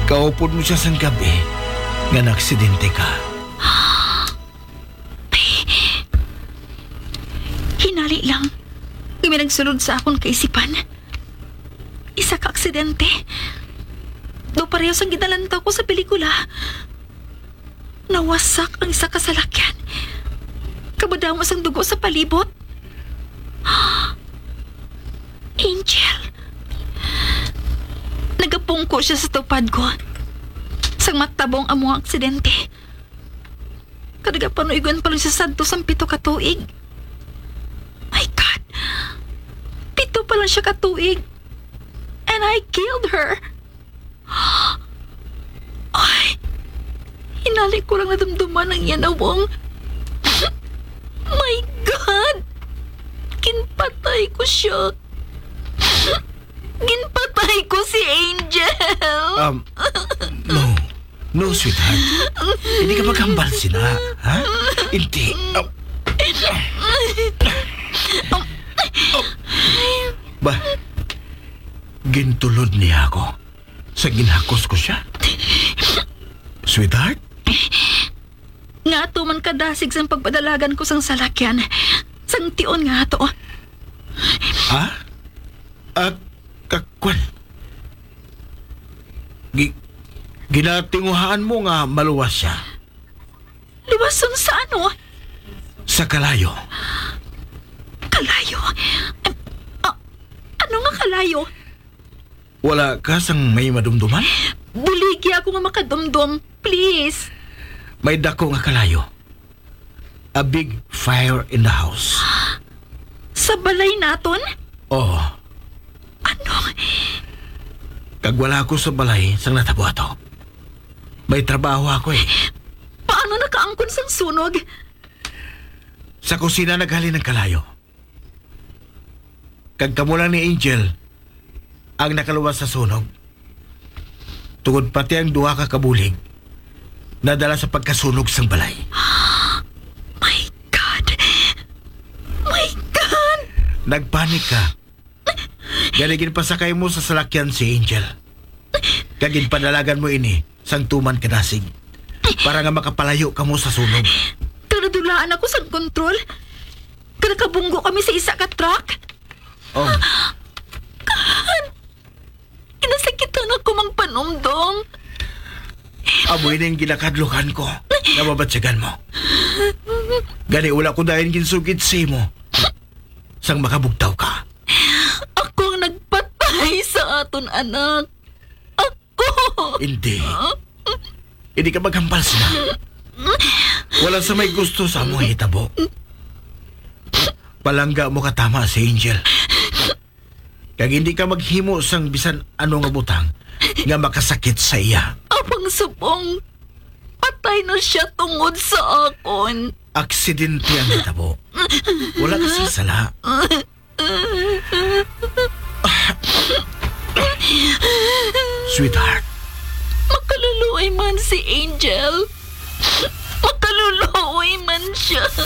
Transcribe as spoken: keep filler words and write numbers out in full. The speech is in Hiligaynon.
Kaupod mo siya sang gabi nga naaksidente ka. Hinali lang, may nagsulod sa akon kaisipan. Isa ka aksidente. Daw pareho sang ginalantaw ko sa pelikula. Nawasak ang isa ka salakyan. Kamadamo sang dugo sa palibot. Angel. Nagapungko siya sa tupad ko. Sang matabong amo ang aksidente. Kag nagapanuigon pa lang siya sadto sang pito ka tuig. My God! Pito pa lang siya ka tuig. And I killed her. Ay, hinali ko lang nadumduman ang iya nawong. My God! Ginpatay ko siya. Ginpatay ko si Angel. Um, no. No, sweetheart. Hindi ka maghambal sina, ha? Hindi. Um, ba, gintulod niya ako sa ginhakos ko siya. Sweetheart? Nga ato man kadasig sang pagpadalagan ko sang salakyan, sang tion nga ato. Ha? Ah, kakwan. Gi-, ginatinguhaan mo nga maluwas siya. Luwason sa ano? Sa kalayo. Kalayo? Ah, ano nga kalayo? Wala ka sang may madumduman? Buligi ako nga makadumdom. Please. May dako nga kalayo. A big fire in the house. Sa balay naton? Oo. Ano? Kag wala ako sa balay sang natabo ato. May trabaho ako eh. Paano nakaangkon sang sunog? Sa kusina naghalin ang kalayo. Kag kamo lang ni Angel ang nakaluwas sa sunog. Tungod pati ang duha ka kabulig nadala sa pagkasunog sang balay. My God! My God! Nagpanik ka. Gani ginpasakay mo sa salakyan si Angel. Kag ginpadalagan mo ini sang tuman ka dasig para nga makapalayo kamo sa sunog. Kag nadulaan ako sang kontrol. Kag nakabunggo kami sa isa ka truck. Oh. Kinasakitan ako, Mang Panumdom. Amo ini ang ginakadlukan ko nga mabatyagan mo. Gani wala ko dayon ginsugid sa imo sang makabugtaw ka. Ako ang nagpatay sa aton anak. Ako! Hindi. Hindi ka maghambal sina. Wala sa may gusto sa among hitabo. Palangga mo katama si Angel. Kag hindi ka maghimo sang bisan ano nga butang nga makasakit sa iya. Apang subong, patay na siya tungod sa akon. Aksidente ang hitabo. Wala ka sing sala. Sweetheart. Makaluluoy man si Angel. Makaluluoy man siya.